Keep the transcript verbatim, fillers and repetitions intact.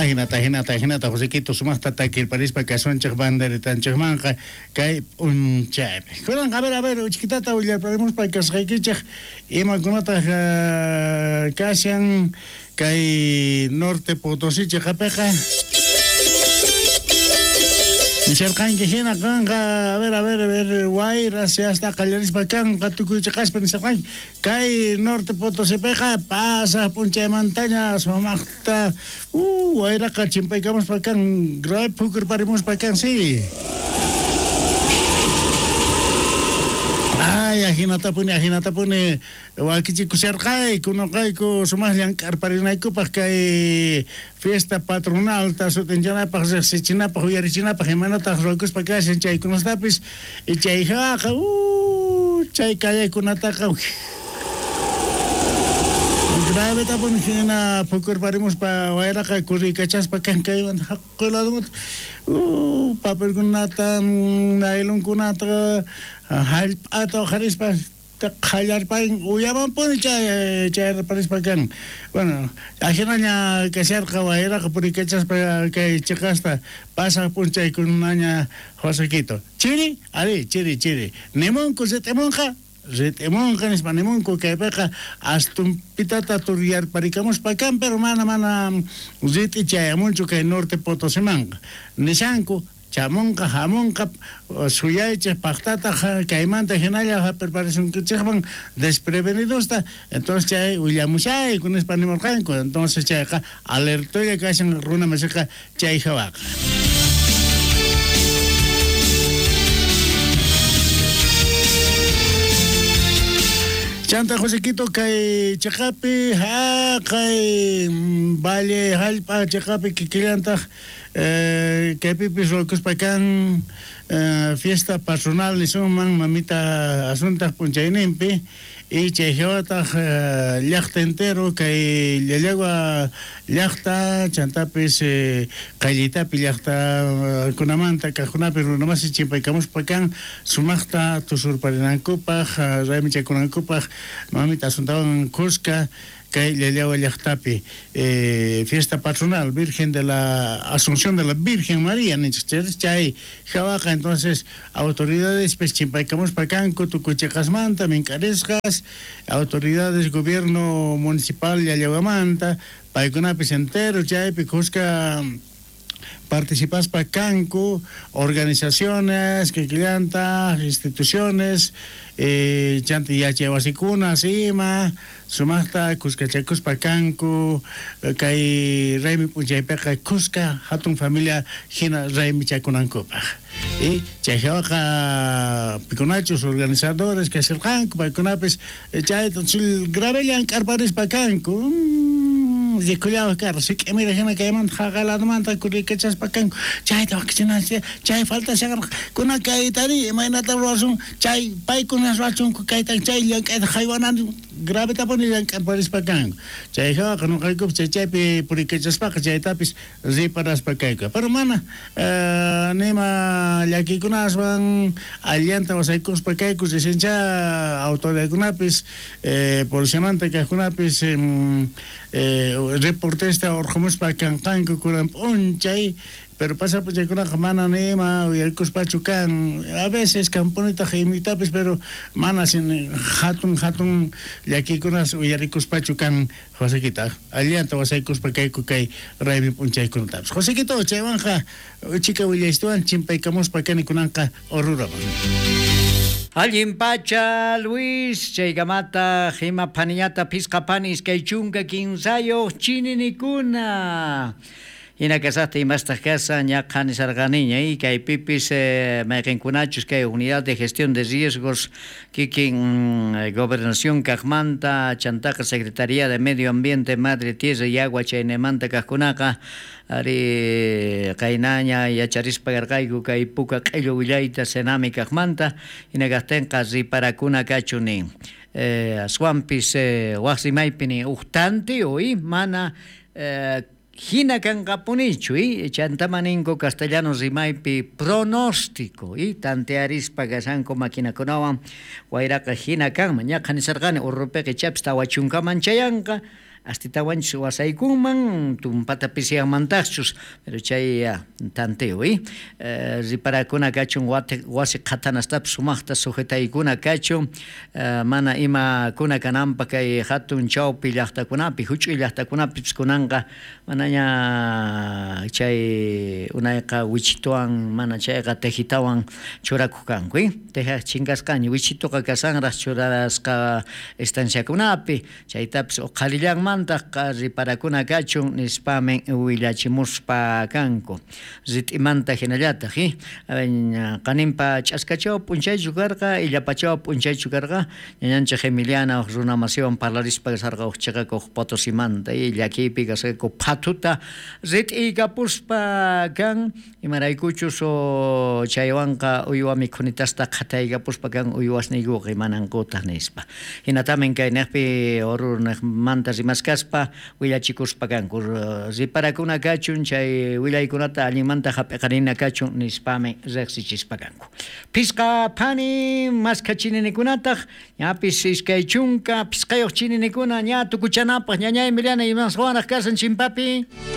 Ajinata, ajinata, ajinata, Josequito sumaqta takirparispa kasunchik banderitanchikmanqa kay p'unchaypi. Kunan, a ver, a ver, uchkitata willarparimuspa kasqaykichik imakunataq kashan kay Norte Potosí chiqapiqa. Nisharqanki hina kanqa, a ver, a ver, a ver, wayras hasta qallarispa kanqa tukuy chiqaspa nisharqanki kay Norte Potosípiqa pasaq p'unchaymantaña sumaqta uh, wayraqa chimpaykamuspa kan grave phukurparimuspa kan, sí. Ay, ajinatapuni, ajinatapuni wakichikusharqayku noqayku sumaq llank'arparinaykupaq kay fiesta patronalta sut'inchanapaq riqsichinapaq uyarichinapaq imanataq ruwakuspa kashan chaykunastapis y chayjaqa uh, chay kallaykunataqa gravetapuni hina phukurparimuspa wayraqa kurriykachaspa kan kaymanta haqay ladumanta uh, papelkunata nailonkunata hallp'ata uqharispa qallarparin uyamanpuni chay chayrparispa kan. Bueno, ajinaña kasharqa wayraqa puriykachaspa kay chiqasta pasaq p'unchaykunaña Josequito. Chiri, ari, chiri, chiri. Nimunku rit'imunqa, rit'imunqa nispa nimunku kaypiqa astumpitata turyarparikamuspa kan, pero mana mana rit'i chayamunchu kay Norte Potosimanqa. Nishanku chamunqa hamunqa suyaychik paqtata kaymanta hinalla hap'irparisunkichikman desprevenidosta, entonces chay willamushayku nispa nimurqanku, entonces chayqa alertolla kashan runa masiqa chay hawaqa. Chanta Josequito kay chiqapi haqay valle hallp'a chiqapi kikillantaq eh, kaypipis ruwakuspa kan eh, fiesta patronal nisunman mamita Asuntaq p'unchayninpi y chay hawataq eh, llaqta entero kay Llallagua llaqta chantapis eh, qayllitapi llaqtakunamanta kaqkunapi runamasi chimpaykamuspa kan sumaqta tusurparinankupaq raymichakunankupaq mamita Asuntawan kuska kay Llallagua llaqtapi eh, fiesta patronal Virgen de la Asunción de la Virgen María ninchik chay hawaqa entonces autoridades pues chimpaykamuspa kanku tukuy chiqasmanta mink'arisqas autoridades gobierno municipal Llallaguamanta paykunapis entero chaypi kuska participaspa kanku organizaciones kikillanta instituciones eh, chanta yachaywasikuna ima sumaqta kuskachakuspa kanku kay raymi p'unchaypiqa kuska hatun familia hina raymichakunankupaq y chay hawaqa pikunachus organizadores kasirqanku paykunapis chayta grave llank'arparispa kanku rikullawa karqa sik'imira hina kaymanta haqay ladumanta kurriykachaspa kanku chayta wakichinanchik chay falta shakarqa kuna kaytari imaynata ruwasun chay paykuna ruwachunku kayta chay llank'ayta haywananchik gravetapuni llank'arparispa kanku chay hawaqa nuqaykupis chay chaypi puriykachaspaqa chaytapis riparaspa kayku pero mana eh, nima llakikunaswan allanta wasaykuspa kayku risincha autoridadkunapis eh, policiamanta kaqkunapis eh, eh, reportesta urqumuspa kanqanku kunan p'unchay pero pasa p'unchaykunaqa mana nima uyarikuspachu kan a veces kanpunitaq imitapis pero mana sin hatun hatun llakikunas uyarikuspachu kan Josequita allanta wasaykuspa kayku kay raymi p'unchaykunatapis Josequito chaywanqa chika willaystuwan chimpaykamuspa kani kunanqa Oruraman. Allin pacha Luis chaykamata hima phaniñata phisqa phani iskay chunka kinsayuq chininikuna Hina kasaqta imastaq kasan ñaqa nisarqaniña y kaypipis eh, mayqinkunachus kay unidad de gestión de riesgos kikin mm, gobernación kaqmanta chantaqa Secretaría de Medio Ambiente Madre Tierra y Agua chaynemanta kaqkunaqa ari qaynaña yacharispa karqayku kay puka q'illu willayta Senami kaqmanta hina kaqtinqa riparakuna kachu nin eh, aswanpis eh, waq rimaypi nin uq tantiyu y mana eh, hina kanqapunichu y chantama ninku castellano rimaypi pronóstico y tantearispa kashanku maquinakunawan wayraqa hina kanman ñaqa nisarqani urrupiqa ichapis tawa chunkaman chayanqa Astitawanchus wasaykunman, tumpata pisiyanmantaqchus, pero chay tanteo, eh? eh riparakuna kachun wasi qhatanastapis sumaqta sujetaykuna kachun, eh, mana imakuna kananpaq kay hatun chawpi llaqtakunapi, huch'uy llaqtakunapis kunanqa manaña chay unayqa wichituwan mana chayqa tejitawan churakuq kanku, eh? Teja chinkasqaña, wichituqa kasanraq churasqa estanciakunapi, chaytapis uqhalillanmantaq riparakuna kachun nispamin willachimuspa kanku. Rit'imanta hinallataq, eh? Qaninpa ch'askachaw p'unchaychu karqa, illapachaw p'unchaychu karqa, ñañanchik Emiliana runa masiwan parlarispa kasarqa uj chiqakuq Potosimanta, y llakiypi kasqaku phatuta rit'iykapuspa kan, imaraykuchus chaywanqa uywa mikhunitasta qhataykapuspa kan uywasniykuqa imanankutaq nispa. Hinatamin kay niqpi Oruro niqmanta rimaskaspa willachikuspa kanku, riparakuna kachun chay willaykunata allinmanta hap'iqarina kachun nispami riqsichispa kanku. Phisqa phani maskha chininikunataq, ñapis iskay chunka phisqayuq chininikuna ña tukuchanapaq. Ñañay Emiliana, imaswanraq kasan chimpapi?